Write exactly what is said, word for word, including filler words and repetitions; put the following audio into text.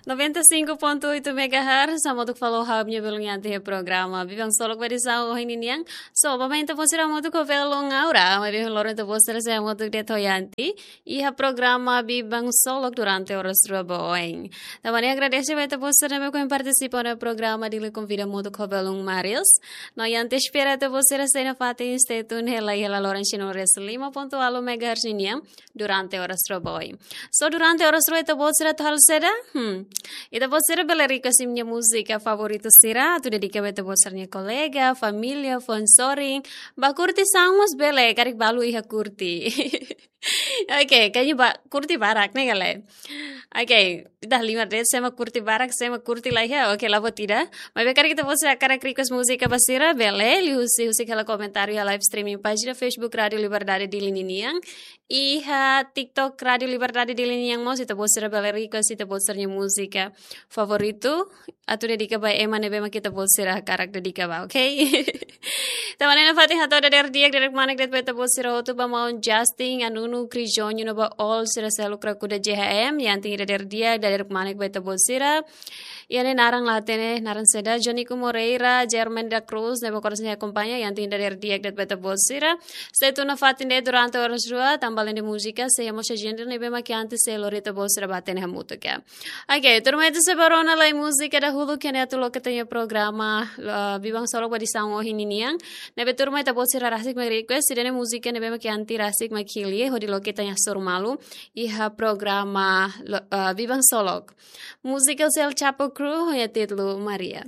noventa e cinco ponto oito megahertz, hamutuk fali ho ha'u-nia belun Yanti iha programa Biban Solok ba edisaun ohin nian. So, ba oin ita-boot sira hamutuk ho belun Aura, maibé loron ita-boot sira sei hamutuk de'it ho Yanti iha programa Biban Solok durante oras rua ba oin. Tanba ne'e agradese ba ita-boot sira ne'ebé ohin partisipa iha programa, Dili konvida hamutuk ho belun Marius. No Yanti espera ita-boot sira sei nafatin stay tune hela iha laloran cento e lima ponto ualu megahertz nian durante oras rua ba oin. So, durante oras rua ita-boot sira atu halo saida? Hmm. Ita-boot sira bele request imi-nia múzika favoritu sira, atu dedika ba ita-boot sira-nia kolega, família, fó-sorin. Ba kurtisaun mós bele, karik balu iha kurti. Oke, kayaknya ba kurti barak ne'e ka lae. Oke, ita halimar de'it, sé mak kurti barak, sé mak kurti laiha. Oke, la buat ida. Maibé karik ita-boot sira hakarak request múzika ba sira, bele, liuhusi, husik hela komentáriu iha live streaming pájina Facebook Rádio Liberdade Dili ninian. Iha TikTok Rádio Liberdade Dili nian mós, ita-boot sira bele request ita-boot sira-nia múzika favoritu atu dedika ba ema ne'ebé mak ita-boot sira hakarak dedika ba, oke? Tanba ne'e nafatin hato'o dadeer di'ak, dadeer kmanek de'it ba ita-boot sira hotu, ba maun Justin, Anunu, Krijonyo, no ba all sira seluk krakuda J H M, Yanti dadeer di'ak, dadeer kmanek ba ita-boot sira. Iha ne'e naran la hatene, naran saida, Jonico Moreira, German da Cruz, ne'ebé korasaun akompaña, Yanti dadeer di'ak de'it ba ita-boot sira. Sei tune nafatin de'it durante oras rua, tanba alende múzika, sei iha mós agenda ne'ebé mak Yanti sei lori ita-boot sira ba hatene hamutuk. Oke, turma, ita sei bá rona lai múzika dahuluk, ke ne'e atu loke ita-nia programa, ah, Biban Solok ba edisaun ohin nian. Ne'ebé turma, ita-boot sira rasik mak request, ida-ne'e múzika ne'ebé mak Yanti rasik mak hili, hodi loke ita-nia hasoru malu iha programa lo-, ah, Biban Solok. Múzika sira El Chapo Crew, ho títulu Maria.